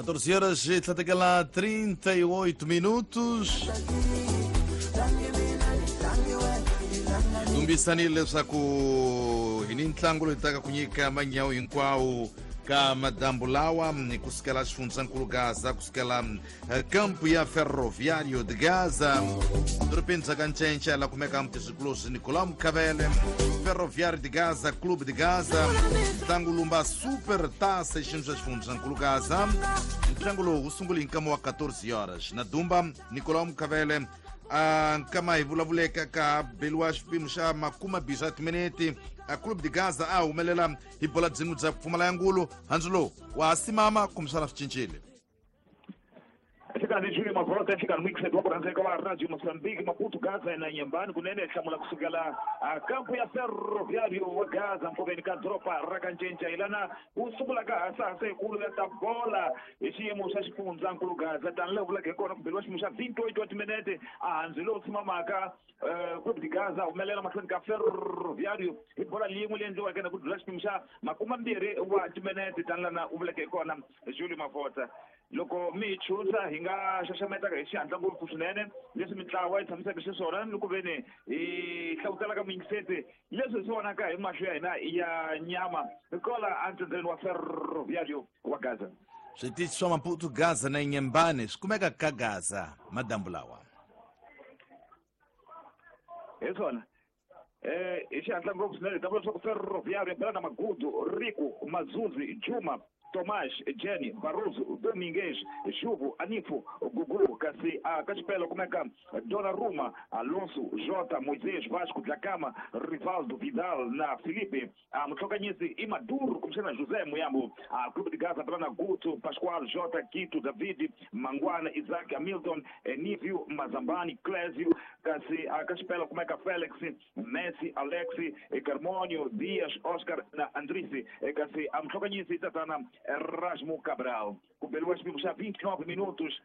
14 horas e tlhatekela 38 minutos. Tumbisanile leswaku hi ni ntlangu loyi taka ku nyika manyawu hinkwawo ka madambu lawa kusukela xifundzankulu Gaza, kusukela kampu ya Ferroviário de Gaza, dorobeni bya Kancenca la kumeka mutizwikulozi Nicolau Mukhavele. Ferroviário de Gaza, Clube de Gaza, ntlangu lumba Super Taça xiyimo xa xifundzankulu Gaza. Ntlangu lowu wu sungule hi nkama wa 14 horas na dumba Nicolau Mukhavele. A nkama hi vulavuleka ka beliwa xipimo xa makuma bisa timinete, a Clube de Gaza a humelela hi bola byin'we bya pfumala ya ngulu. Handzu lowu wa ha simama kumbexana swi cincile? Nhlikani Júlio Mavota, nhlikani mixed wa ku rhandzeka wa Radio Mozambique, Maputo, Gaza na Nyembani kunene hlamula kusukela a kampu ya Ferroviário wa Gaza mpfuveni ka doroba ra Kancenca hi lana wu sungulaka hasahasa yikulu ya ta bola hi xiyimo xa xifundzankulu Gaza. Tani leyi vulaka hi kona ku beliwa xiyimo xa 28 wa timinete, a handzi lowu tshimamaka Clube de Gaza humelela mahlweni ka Ferroviário hi bola yin'we leyi endliweke na ku dlula xipimo xa 20 wa timinete. Tani lana u vuleke hi kona Julio Mavota, loko mi hi chuza hi nga xaxametaka hi xihatla ngopfu swinene leswi mintlawa yi tshamiseke xiswona ni ku veni hi hlavutelaka muyingiseti leswi hi swi vonaka hi mahlo ya hina ya nyama kola entsendzeni wa Ferroviário wa Gaza. Switichi swa Maputo, Gaza na Nyembane swi kumeka ka Gaza madambu lawa. Hi swona, hi xihatla ngopfu swinene hi ta vula leswaku Ferroviário bela na Magudu, Rico, Mazuzi, Juma, Tomás, Jenny, Barroso, Domingues, Juvo, Anifo, Gugu, kasi a ka xipela kumeka Donnarumma, Alonso, Jota, Moisés, Vasco, Dlakama, Rivaldo, Vidal na Felipe. A mutlhokanyisi i Maduro kumbexana José Muyambo. A Clube de Gaza bela na Guto, Pascoal, Jota, Quito, David, Mangwana, Isaac, Hamilton, Nívio, Mazambani, Clésio, kasi a ka xipela kumeka Felix, Messi, Alexi, Carmonio, Dias, Oscar na Andrisi, kasi a mutlhokanyisi i tatana Erasmo Cabral. Ku beliwa xipimo xa 29 minutos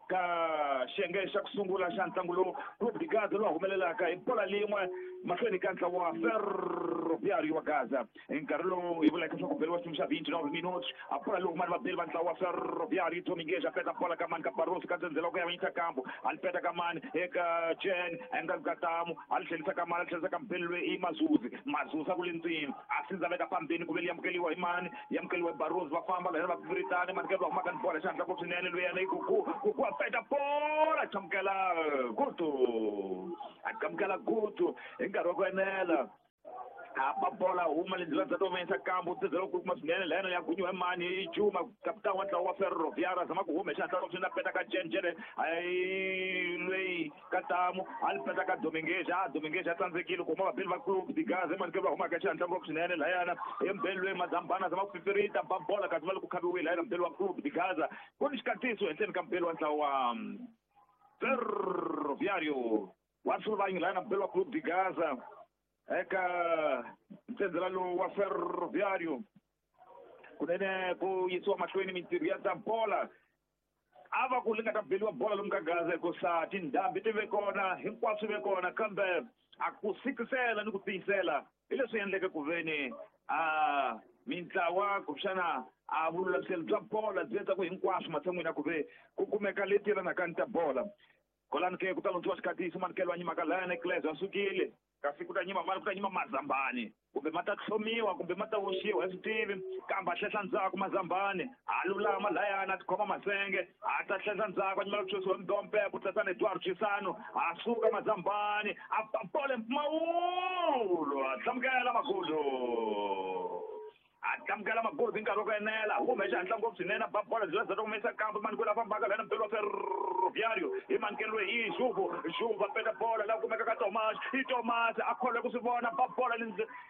ka xiyenge xa ku sungula xa ntlangu lowu, Clube de Gaza lowu humelelaka hi bola lin'we mahlweni ka ntlawa wa Ferroviário wa Gaza. Hi nkarhi lowu hi vulaka leswaku beliwa xipimo xa 29 minutos, a bola lowu mani vabeli va ntlawa wa Ferroviário. Domingues a peta bola ka mani? Ka Barroso ka ndzhendzela ku ya vanyisa kambu, a li peta ka mani? Eka Jen enga katamu, a li tlhelisa ka mani? A li tlhelisa ka mbeli loyi i Mazuzi. Mazuzi a ku le ndzeni, a sindza veka pambeni ku ve li amukeliwa hi mani? Yi amukeliwa hi Barroso. Va famba lahena va viritani mani ke va humaka ni bola xihatla ngopfu swinene. Luyena i Gugu. Gugu a peta bola, chamukela Gutu, a chamukela Gutu hi nkarhi wa ku enela, a ba bola huma le ndlela bya tovanyisa kambu ntsedzela ku kuma swinene lahena ya gunyiwa hi mani? I Juma, kapitani wa ntlawa wa Ferroviário. A zama ku huma hi xihatla ngopfu swinene, a peta ka Jen. Jene ayi lweyi Katamu, a li peta ka Domingues. A Domingues a tsandzekile ku huma vabeli va Clube de Gaza emani ke va humaka xihatla ngopfu swinene lahayana embeli loyi Mazambana a zama ku fifirita ba bola, kasi va le ku khaviwile lahayana mbeli wa Clube de Gaza. Ku ni xikatiso henhleni ka mbeli wa ntlawa wa Ferroviário wa Sulvanyi lahayana, mbeli wa Clube de Gaza eka ntsenzela lowu wa Ferroviário. Kunene ku yisiwa mahlweni mintirho ya ta bola, a va ku li nga ta beliwa bola lomu ka Gaza hikusa tindhambi ti ve kona, hinkwaswo ve kona, kambe a ku sikisela ni ku tiyisela hi leswi endleke ku veni a mintlawa kumbexana a vululamiselo bya bola byi endla ku hinkwaswo matshan'wini ya ku ve ku kumeka leti yelanaka ni ta bola. Kolani ke ku ta lundziwa xikatiso manikelo wa nyimaka layana Cles a sukile, kasi ku ta nyima mani? Ku ta nyima Mazambani, kumbe ma ta tlhomiwa kumbe ma ta oxiwa, hi swi tivi, kambe a hlehla ndzhaku Mazambani, a lulama layana, a tikhoma masenge, a ta hlehla ndzhaku, a nyimela ku xosiwa mdompe ku tlasana Eduardo Chisano. A suka Mazambani, a ba mpfumawulo, a hlamukela Magudu, a tlamukela Magudu hi nkarhi wa ku enela, hume xihatla ngopfu swinene, a ba bola byi za humesa kambe mani kwela fambaka lana mbeli wa Ferroviário hi manikelo hi Juvo. Juvo a peta bola la kumeka ka Tomas. I Tomas a kholwe ku swi vona, ba bola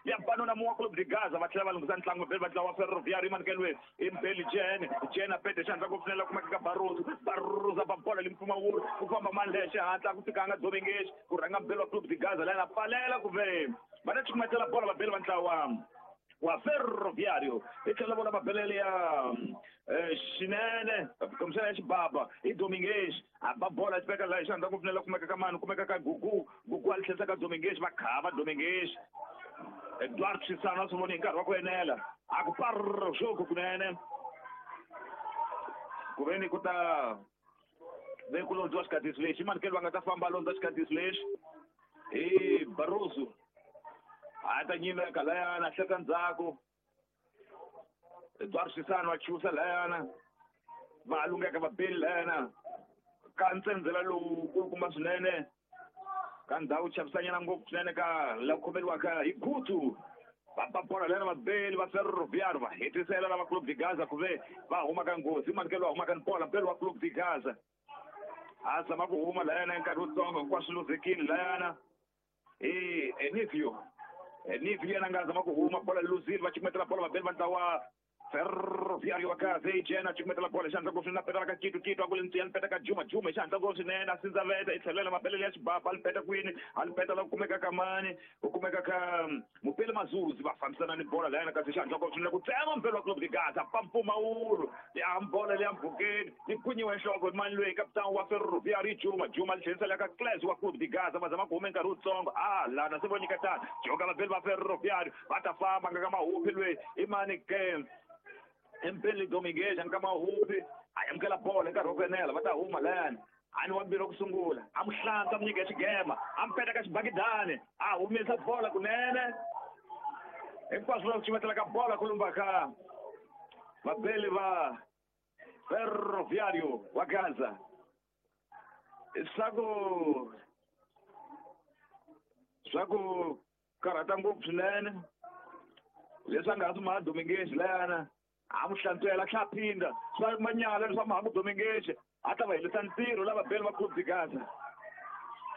ya banuna muwa Clube de Gaza. Va tlhela va lunghisa ntlangu mbeli va ntlawa wa Ferroviário hi manikelo i mbeli Jen. Jen a pete xihatla ngopfu swinene la kumeka ka Barroso. Barroso a ba bola limpfumawulo, ku famba mani lexe xihatla ku fikanga Domingues ku rhanga mbeli wa Clube de Gaza layena pfalela ku ve va ta cukumetela bola vabeli va ntlawa wa Ferroviário. Hi tlhela vona mabelele ya xinene kumbexana ya xibaba i Domingues, a ba bola xi veka laha xandla ngopfu la kumeka ka mani? Kumeka ka Gugu. Gugu a li tlhelisa ka Domingues, va khava Domingues. Eduardo Chisano a swi voni hi nkarhi wa ku enela, a ku parr jogo kunene. Ku ve ni ku ta ve ku londziwa xikatisi lexi manikelo va nga ta famba londza xikatisi lexi hi Barroso a ta nyimeka layana hleka ndzhaku Eduardo Chissano a chusa layana va lungeka va beli layana ka ntsendzela lowu kulukumba swinene ka ndhawu chavisanyana ngopfu swinene ka la khomeriwaka hi Gutu va ba bola layana vabeli va Ferroviário va hetisela lava Clube de Gaza ku ve va huma ka nghozi manikelo va huma ka bola mbeli wa Clube de Gaza a zama ku huma layana nkarhi wutsongo hinkwaswo luzekile layana hi Enivio Enivio yena nga zama ku huma bola luzile va cukumetela bola vabeli va ntlawa Ferroviário wa Gaza ijena cukumetela bola xandla ngopfu swinene a petela ka Kitu Kitu a ku le ntsiyani peta ka Juma Juma hi xandla ngopfu swinene a sindzaveta i tlhelela mabelele ya xibaba a li peta kwini a li peta la ku kumeka ka mani ku kumeka ka Mupeli Mazuzi va fambisana ni bola layana kasi xandla ngopfu swinene ku tsema mpelo wa Clube de Gaza pampfumawulo ya bola leya mpfhukeni yi khwinyiwe nhloko hi mani loyi kapitani wa Ferroviário Juma Juma li tlherisela ka Cles wa Clube de Gaza va zama ku huma nkarhi wutsongo a lana se vo nyiketana joka vabeli va Ferroviário va ta famba nga ka Mahupi loyi i mani ke Mpeli Dominguez ka Mahupi a amukela bola nkarhi wa ku enela va ta huma layani a ni wambirhi wa ku sungula a mu hlantswa mu nyika xigema a mu peta ka xibakidani a humesa bola kunene hinkwaswo va ku cimetela ka bola ku lumba ka vabeli va Ferroviário wa Gaza swa ku karhata ngopfu swinene leswi a nga ha swi maha Dominguez layana a mu hlantswela tlha phinda swa manyala leswa maha Dominguez a ta va helisa ntirho lava beli va Clube de Gaza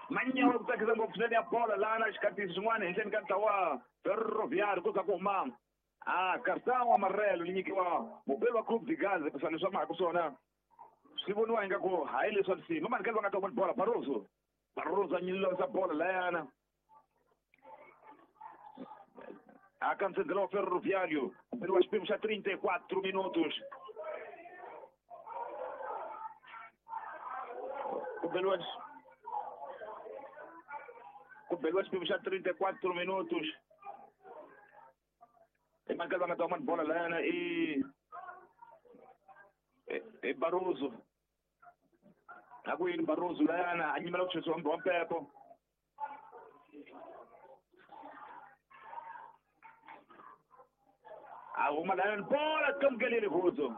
manyawa ku tsakisa ngopfu swinene ya bola lana xikatisi xin'wana henhleni ka ntlawa Ferroviário ku za ku huma a cartão amarelo li nyikiwa mubeli wa Clube de Gaza ku leswi va mahaka swona swi voniwa ingaku hayi leswa nsimu manikelo va nga ta huma bola Barroso Barroso a nyilisa bola layana a cancelou o Ferroviário pelo xiphemu xa 34 minutos ku beliwa xiphemu xa 34 minutos i manikelo va nga ta huma bola layana i Barroso a ku yini Barroso layana a nyimela ku chesiwa wa mpepo a huma layana bola tlamukelile Gutu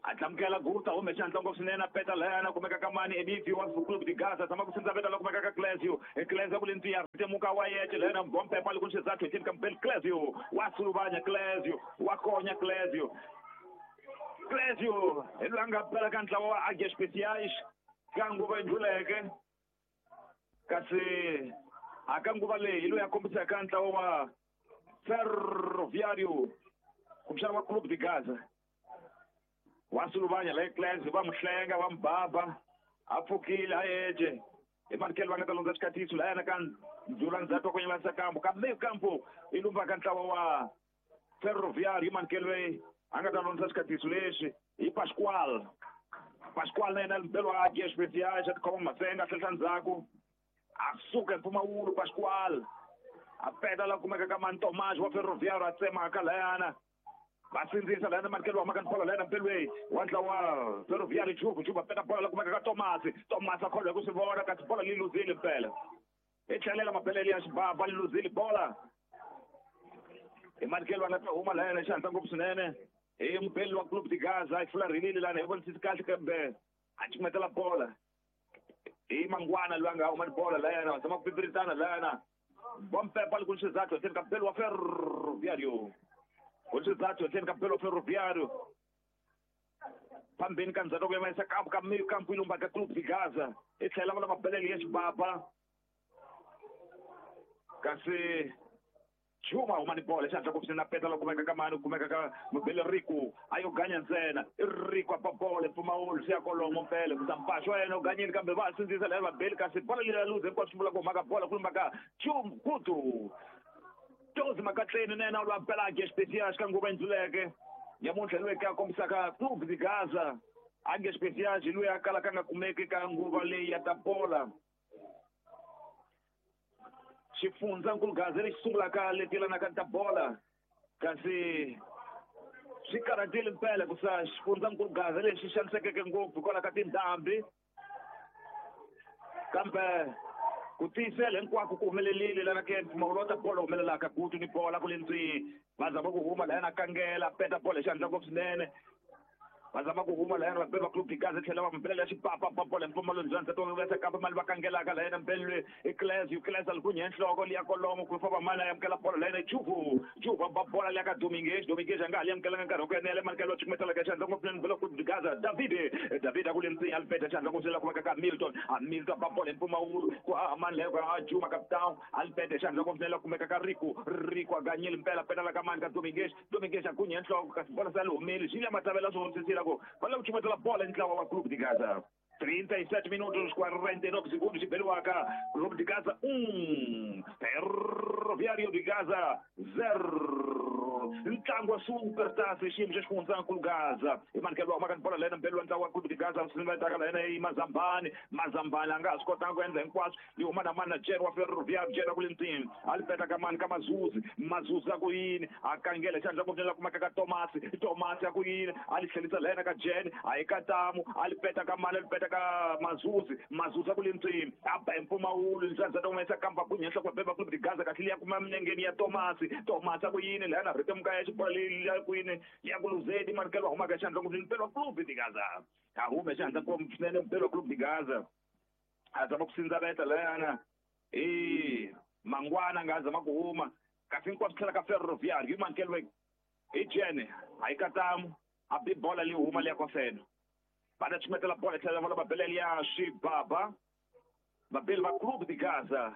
a tlamukela Gutu a hume xandla ngopfu swinene a peta layana kumeka ka mani Enivio wa Clube de Gaza tshama ku sindza veta la kumeka ka Clesio Clesio ku le ntsiya temuka wa yece layana bompepa li ku xizathu hi ka Mbeli Clesio wa suluvanya Clesio wa konya Clesio Clesio hi loyi a nga bela ka ntlawa wa Águias Especiais ka nguva ndluleke kasi a ka nguva leyi hi loyi a kombisaka ntlawa wa Ferroviário kumbexana wa Clube de Gaza wa suluvanya la Clesio va mu hlenga va mu baba a pfukile a yece hi manikelo va nga ta londza xikatiso layana ka ndzula ndzhaku wa ku nyilanisa kampo ka meio campo i lumba ka ntlawa wa Ferroviário hi manikelo loyi a nga ta londza xikatiso lexi hi Pascoal Pascoal na yena mbelo wa Águias Especiais a tikhoma masenga a tlhela ndzhaku a suka hi mpfumawulo Pascoal a peta la kumeka ka mani Tomás wa Ferroviário a tsemaka layana va sindzisa layana manikelo wa maka ni bola layana mpelweni wa ntlawa Ferroviário Juve Juve a peta bola la kumeka ka Tomás Tomás a kholwa hi ku swi vona kasi bola li luzile mpela i tlhelela mabelele ya xibaba li luzile bola hi manikelo va nga ta huma layana xandla ngopfu swinene hi mubeli wa Clube de Gaza yi fularhelile lana hi vonisisi kahle kambe a cukumetela bola hi Mangwana loyi a nga huma ni bola layana va zama ku pipiritana layana bompepa li ku xizathu henhleni ka mbeli wa Ferroviário ku xizathu henhleni ka mbeli wa Ferroviário phambeni ka ndzhaku ku yimisa kampo ka meio campo yi lumba ka Clube de Gaza i tlhela va la mabelele ya xibaba kasi Juma huma ni bola xandla ku na peta la kumeka ka mani kumeka ka Mubeli Rico a yo ganya ntsena i Rico a ba bola mpfumawulo swi ya kolomo mpela ku mpaxo wa yena u ganyile kambe va sindzisa laya vabeli kasi bola leyi luze hinkwaswo swi vula ku humaka bola ku lumba ka Juma Gutu Tozi Makatleni na yena lwa bela Águias Especiais ka nguva ndluleke nyamuntlha loyi ka kombisaka Clube de Gaza Águias Especiais loyi a kalaka nga kumeki ka nguva leyi ya ta bola xifundzankulu Gaza lexi sungulaka leti yelanaka ta bola kasi Swi karhatile mpela ku sa xifundzankulu Gaza lexi xanisekeke ngopfu hikwalaho ka tindhambi. Kambe ku tiyisela hinkwako ku humelerile lana ke mpfumawulo wa ta bolo humelelaka Gutu ni bola ku le ndzeni. Va zama ku huma lahayana kangela peta bolo hi xandla ngopfu swinene. Va zama ku huma lahayana vabeli va Clube de Gaza tlhela va mbelela xipapa ba bolo hi mpfumawulo ndzandza to vesa kambe mali va kangelaka lahayana mbelwe i Clesio Clesio alikunya nhloko liya kolomo ku famba mali a amukela bolo lahayana Juvu Juvu ba bola liya ka Domingues Domingues a nga ha li amukelanga nkarhi wa ku enela manikelo wa cukumetela ka xandla ngopfu swinene mbele Clube de Gaza David David a ku le ndzeni a li peta xandla ngopfu swinene la kumeka ka Milton a Milton ba bolo hi mpfumawulo ku haha mani leyo ka Juma Capitão a li peta xandla ngopfu swinene la kumeka ka Rico Rico a ganyile mpela peta la ka mani ka Domingues Domingues a gunya nhloko kasi bola se a li humile Julia Matavela swi vonisisile ku va lava ku cukumetela bola hi ntlawa wa Clube de Gaza. 37 minutos 49 segundos xibeliwaka Clube de Gaza 1 Ferroviário de Gaza 0. Ntlangu wa Super Taça xiyimo xa xifundzankulu Gaza i manikelo wa humaka ni bola lena mbeli wa ntlangu wa Clube de Gaza swivetaka la yena i Mazambani Mazambani a nga ha swi kotanga ku endla hinkwaswo yi huma na mani na Jen wa Ferroviário Jen a ku le ndzeni a li peta ka mani ka Mazuzi Mazuzi a ku yini a kangela xandla ngopfu la kumeka ka Tomasi Tomasi a ku yini a li tlhelisa la yena ka Jen a yi ka Tamu a li peta ka mani a li peta ka Mazuzi Mazuzi a ku le ndzeni a ba hi mpfumawulo ndzandza ta humesa kamba gunya nhloko beba Clube de Gaza kahle liya kuma milengeni ya Tomasi Tomasi a ku yini la yena rhetemuka ya xibola leyi ya ku yini ya ku luzeni manikelo wa humaka xandla ngopfu mpelo wa Clube de Gaza a hume xandla ngopfu swinene mpelo wa Clube de Gaza a zama ku sindzaveta layana i Mangwana nga zama ku huma kasi hinkwaswo tlhela ka Ferroviário hi manikelo hi Jene a yi katamu a bi bola leyi huma liya kofeno va ta cukumetela bola tlhela vona va bela liya swibaba vabeli va Clube de Gaza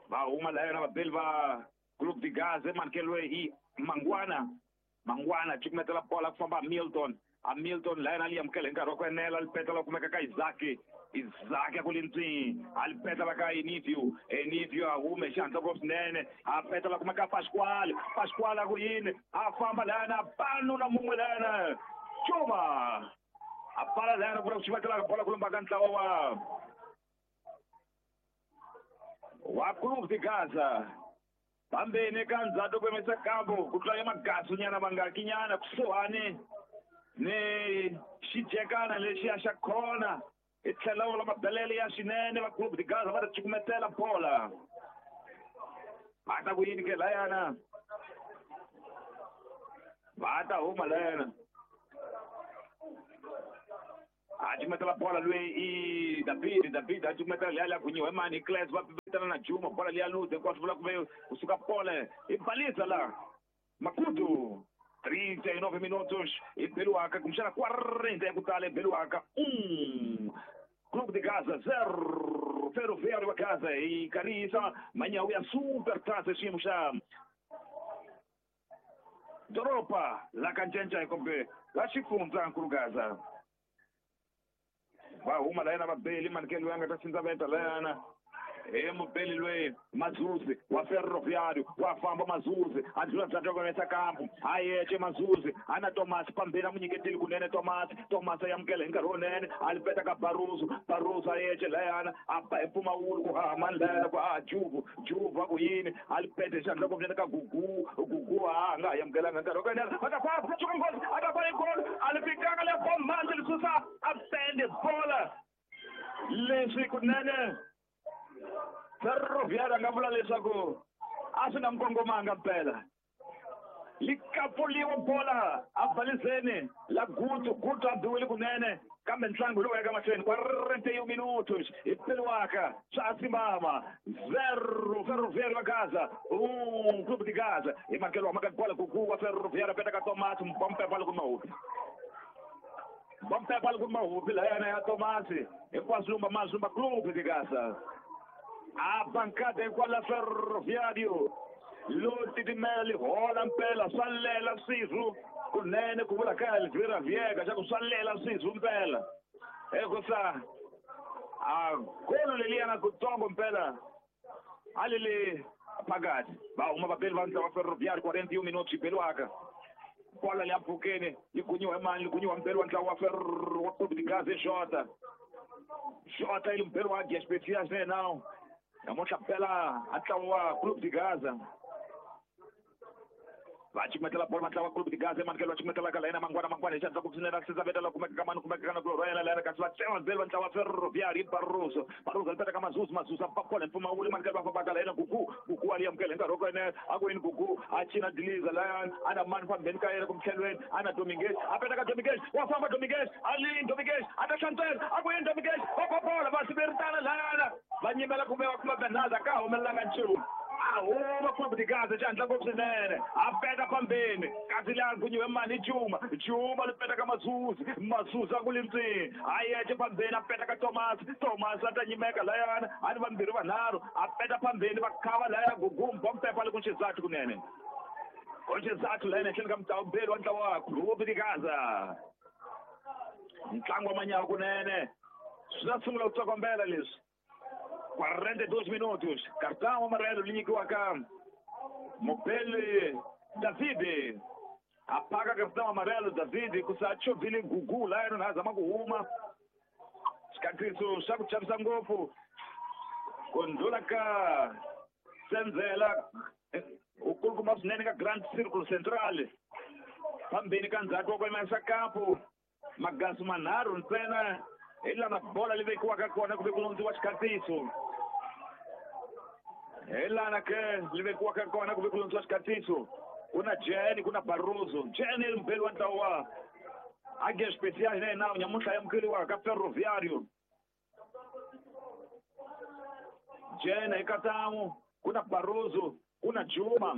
va huma layana vabeli va Clube de Gaza manikelo hi Mangwana Mangwana cukumetela bola ku famba Milton a Milton layana li amukela hi nkarhi wa ku enela li petela kumeka ka Isaac Isaac a ku le ndzeni a li petela ka Enivio Enivio a hume xihatla ngopfu swinene a petela kumeka Pasquale Pasquale a ku yini a famba layana panu na mun'we layana Juma a pfala layana ku ri ku xivatela bola ku lumba ka ntlawa wa Clube de Gaza pambeni ka ndzhato ku yimisa kambu ku tlula ya magasu nyana mangaki nyana kusuhani ni xijekana lexiya xa khona i tlhela vula mabelele ya swinene va Clube de Gaza va ta cukumetela bola va ta ku yini ke layana va ta huma layana a cukumetela bola loyi i David David a cukumetela liya liya gunyiwa hi mani hi Cles va vitana na Juma bola liya luze hinkwaswo vula ku ve kusuka pole i balisa la Makutu 39 minutos i beliwaka kumbexana 40 ya ku tala i beliwaka 1 Clube de Gaza 0 Ferroviário wa Gaza hi karisa manyawu ya Super Taça xiyimo xa doroba la ka Ncencai kumbe la xifundzankulu Gaza va huma layana vabeli manikelo loyi a nga ta sindzaveta layana he mubeli loyi Mazuzi wa Ferroviário wa famba Mazuzi a ndlula bya toko kampu a yexe Mazuzi a na Tomasi pambeni a mu nyiketile kunene Tomasi Tomasi a amukela hi nkarhi wunene a li peta ka Baruzu Baruzu a yexe layana a ba hi mpfumawulo ku haha mani layana ku haha Juvu Juvu a ku yini a li pete xandla ngopfu ka Gugu Gugu a nga ha amukelanga nkarhi wa ku enela a ta famba suka nghozi a ta ba golo a li fikanga le bommanzi li susa a pende bola leswi kunene Ferroviário a nga vula leswaku a swi nga n'wi kongomanga mpela li kapuliwa bola a balizeni la Gutu Gutu a biwile kunene kambe ntlangu lowu yaka mahlweni 41 minutos hi peliwaka swa simama 0 Ferroviário wa Gaza 1 Clube de Gaza hi makelo wa maka bola Gugu wa Ferroviário peta ka Tomasi mpompe bola ku mahupi bompe bola ku mahupi layana ya Tomasi hinkwaswo lumba mazumba Clube de Gaza a bancada hikwala Ferroviário lo titimela li hola mpela swa lela swizwu kunene ku vula ka Elvira Viega xa ku swa lela swizwu mpela hikusa a golo leliyana kutsongo mpela a li le phakathi va huma vabeli va ntlawa Ferroviário 41 minutos xibeliwaka bola liya mpfhukeni yi gunyiwa hi mani yi gunyiwa mpeli wa ntlawa wa Ferro wa Clube de Gaza Jota Jota yi mpeli wa Águias Especiais ne nawu namuntlha mpela a ntlawa wa Clube de Gaza Va chimetela bolo vatla va Clube de Gaza manikelo va chimetela ka layena Mangwana Mangwana hi xandla ku swinene a sisa veta la kumeka ka mani kumeka ka na yena layena kasi va tsema belo va ntlawa Ferroviário Barroso Barroso li peta ka Mazuzu Mazuzu a pakola mpfumawulo manikelo va famba ka layena Gugu Gugu a li amukela hi nkarhi wa ku yena a ku yini Gugu a cina diliza layani a na mani fambeni ka yena kumtlhelweni a na Dominguez a peta ka Dominguez wa famba Dominguez a lini Dominguez a ta hlantswela a ku yini Dominguez va pakola va siveritana layana va nyimela kumbe va kuma Bernardo ka humelelanga nchumu a huma Clube de Gaza xandla ngopfu swinene a peta phambeni kasi laha gunyiwe mani Juma Juma li peta ka Mazuzu Mazuzu a ku li ntsini a yexe phambeni a peta ka Thomas Thomas a ta nyimeka layana a ni vambirhi vanharhu a peta phambeni va khava laya Gugumba Mpepa le ku Xizathu kunene ku Xizathu layana ehenhleni ka mutawubeli wa ntlawa wa Clube de Gaza ntlangu wa manyawa kunene swi ta sungula ku tsokombela leswi 42 minutos cartão amarelo li nyikiwaka mubeli David a phaka cartão amarelo David ku sa chovhile Gugu layena na zama ku huma xikatiso xa ku chavisa ngopfu ku ndlula ka Senzela u kulukumba swinene ka Grand Circle Central phambeni ka ndzhaku wa ku yimisa kampu magasu manharhu ntsena hi lana bola li vekiwaka kona ku ve ku lundziwa xikatiso hi lana ke li vekiwaka kona ku ve ku lundziwa xikatiso ku na Jeni ku na Barroso Jeni i mubeli wa ntlawa wa Águia Especiais né nawu nyamuntlha amukeriwaka ka Ferroviário Jeni hi katamu ku na Barroso ku na Juma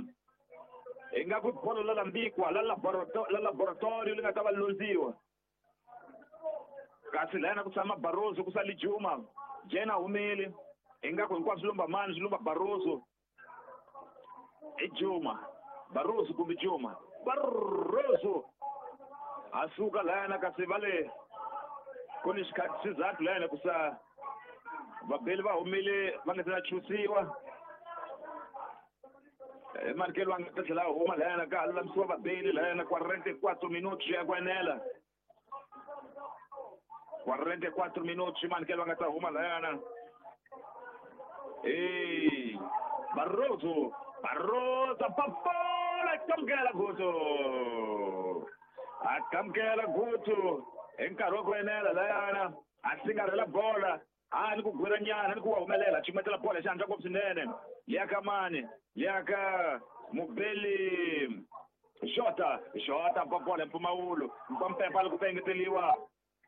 hi nga ku bolo la lambikwa la laboratorio li nga ta va lundziwa kasi layana ku tshama Barroso ku sali Juma Jena humile ingaku hinkwaswo lumba mani swi lumba Barroso i Juma Barroso kumbe Juma Barroso a suka layana kasi va le ku ni xizathu layana ku sa vabeli va humile va nga se na chusiwa manikelo va nga ta tlhela huma layana ka ha lulamisiwa vabeli layana 44 minutos ya ku enela 44 minutos manikelo va nga ta huma layana ei Barroso Barroso papola kamukela Gutu a kamukela Gutu hi nkarhi wa ku enela layana a singarhela bola a ni ku gwira nyana ni ku wa humelela chimetela bola xandla ngopfu swinene liya ka mani liya ka mubeli Xota Xota papola mpfumawulo mpampepa loko ku engeteliwa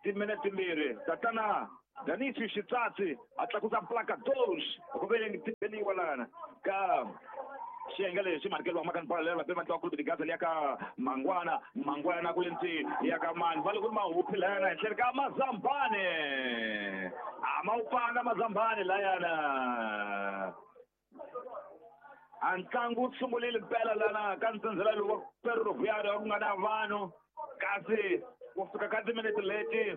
timinete timbirhi tatana Danisi Xitsatsi a tlakusa placa 2 ku ve tibeliwa lana ka xiyenge lexi manikelo wa makani bola leri va Clube de Gaza liya ka Mangwana Mangwana ku le ntsi ya ka mani va le ku ri mahuphi layana henhleni ka Mazambane a ma wu panga Mazambane layana a ntlangu wu sungulile mpela lana ka ntsendzela lowu wa Ferroviário ku nga na vanhu kasi ku fika ka timinete leti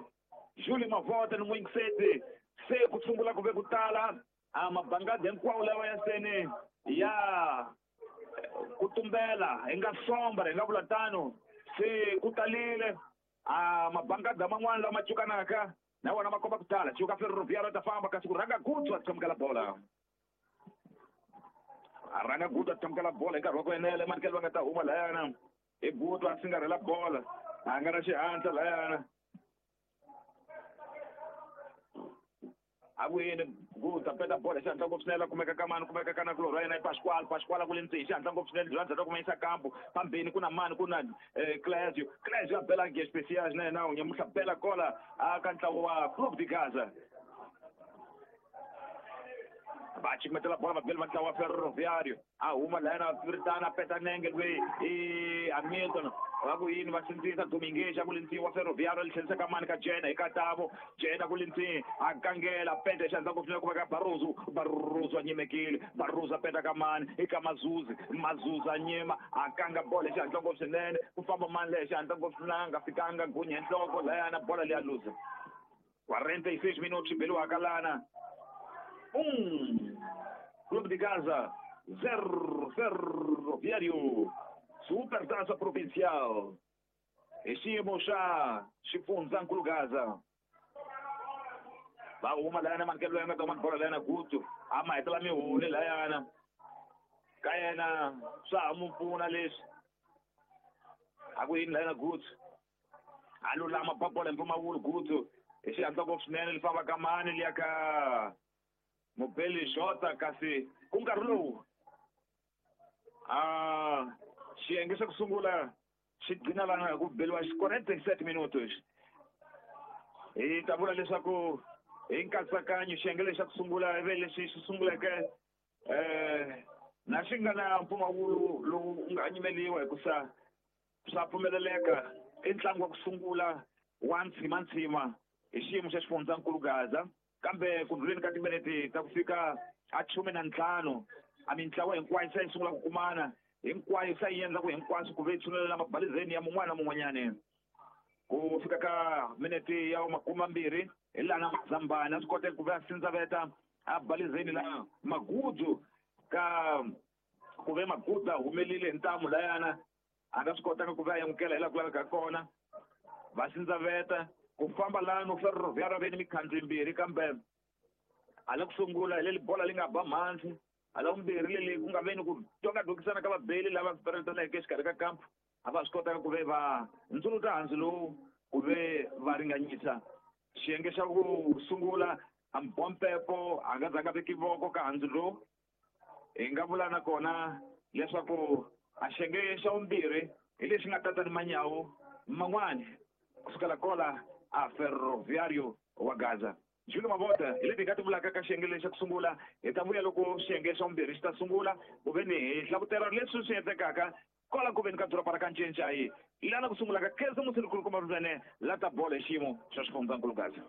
Júlio Mavota ni N'wingiseti se ku sungula ku ve ku tala a mabangadi hinkwawo lawa ya seni ya ku tumbela hi nga sombra hi nga vula tano se ku talile a mabangadi man'wana lama cukanaka na wona ma komba ku tala cuka Ferroviário ta famba kasi ku rhanga Gutu a tsamukela bola a rhanga Gutu a tsamukela bola hi nkarhi wa ku enela manikelo va nga ta huma layana i Gutu a singarhela bola a nga na xihatla layana a ku yini Gutu a peta bola xandla ngopfu swinene kumeka ka mani kumeka ka nakulorhi wa yena i Pasquale Pasquale ku le ntsini xandla ngopfu swinene bya ndzhaku kuma yisa kampu phambeni ku na mani ku na Clésio Clésio a bela Águia Especiais na yena nyamuntlha bela kola a ka ntlawa wa Clube de Gaza va chimetela bola vabeli va ntlawa wa Ferroviário a huma layana ritana a peta nenge loyi i Hamilton va ku yini va sindzisa Dominguez a ku le ntsini wa Ferroviário li tlherisa ka mani ka Jena hi katavo Jena ku le ntsini a kangela peta xandla ngopfu swinene ku veka Barroso Barroso a nyimekile Barroso a peta ka mani i ka Mazuzi Mazuzi a nyima a kanga bola xandla ngopfu swinene ku famba mani leyi xandla ngopfu swinene a nga fikanga gunya nhloko layana bola leya luza 46 minutos beliwaka lana 1 Clube de Gaza 0 Ferroviário Supertaça Provincial hi xiyimo xa xifundzankulu Gaza va huma layana manikelo loyi a nga ta huma bola layana Gutu a ma hetela mihuni layana ka yena swa ha mu pfuna leswi A ku yini layana Gutsu a lulama ba bola hi mpfumawulo Gutsu hi xihatla ngopfu swinene li famba ka mani liya ka Mubeli Jota kasi ku nkarhi lowu a xiyenge xa ku sungula xi gcina lana hi ku beliwa 47 minutos. Hi ta vula leswaku hi nkatsakanyo xiyenge lexi xa ku sungula ivi lexi xi sunguleke na xi nga na mpfumawulo lowu nga nyimeliwa hikusa swa pfumeleleka i ntlangu wa ku sungula wa ntshimantsima hi xiyimo xa xifundzankulu Gaza kambe ku ndluleni ka timinete ta ku fika a 15 a mintlawa hinkwayo se yi sungula ku kumana hinkwayo se yi endla ku hinkwaswo ku ve yi tshunelela mabalizeni ya mun'wana na mun'wanyani ku fika ka minete ya 20 hi laha Mazambani a swi koteka ku ve a sindzaveta a balizeni la Magudu ka ku ve Magudu a humelile hi ntamu layana a nga swi kotanga ku ve a amukela hi laha ku lavekaka kona va sindzaveta ku famba lano Ferroviário ve ni mikhandzi yimbirhi kambe hala ku sungula hi leli bola li nga ba mhandzi hala vumbirhi leli ku nga veni ku twakadokisana ka vabeli lava peretaneke exikarhi ka kampu a va swi kotaka ku ve va ndzuluta handzu lowu ku ve va ringanyisa xiyenge xa ku sungula a Mbompepo a nga zanga veki voko ka handzu lowu hi nga vula nakona leswaku a xiyenge xa vumbirhi hi lexi nga tata ni manyawu man'wani kusukela kola a Ferroviário wa Gaza. Júlio Mavota hi leti hi nga ti vulaka ka xiyenge lexi xa ku sungula hi ta vuya loko xiyenge xa vumbirhi xi ta sungula ku ve ni hi hlavutela leswi swi endlekaka kwala ku veni ka doroba ra ka Ncencai lana ku sungulaka Khensa Musirikulukumba Mvene la ta bolo hi xiyimo xa xifundzankulu Gaza.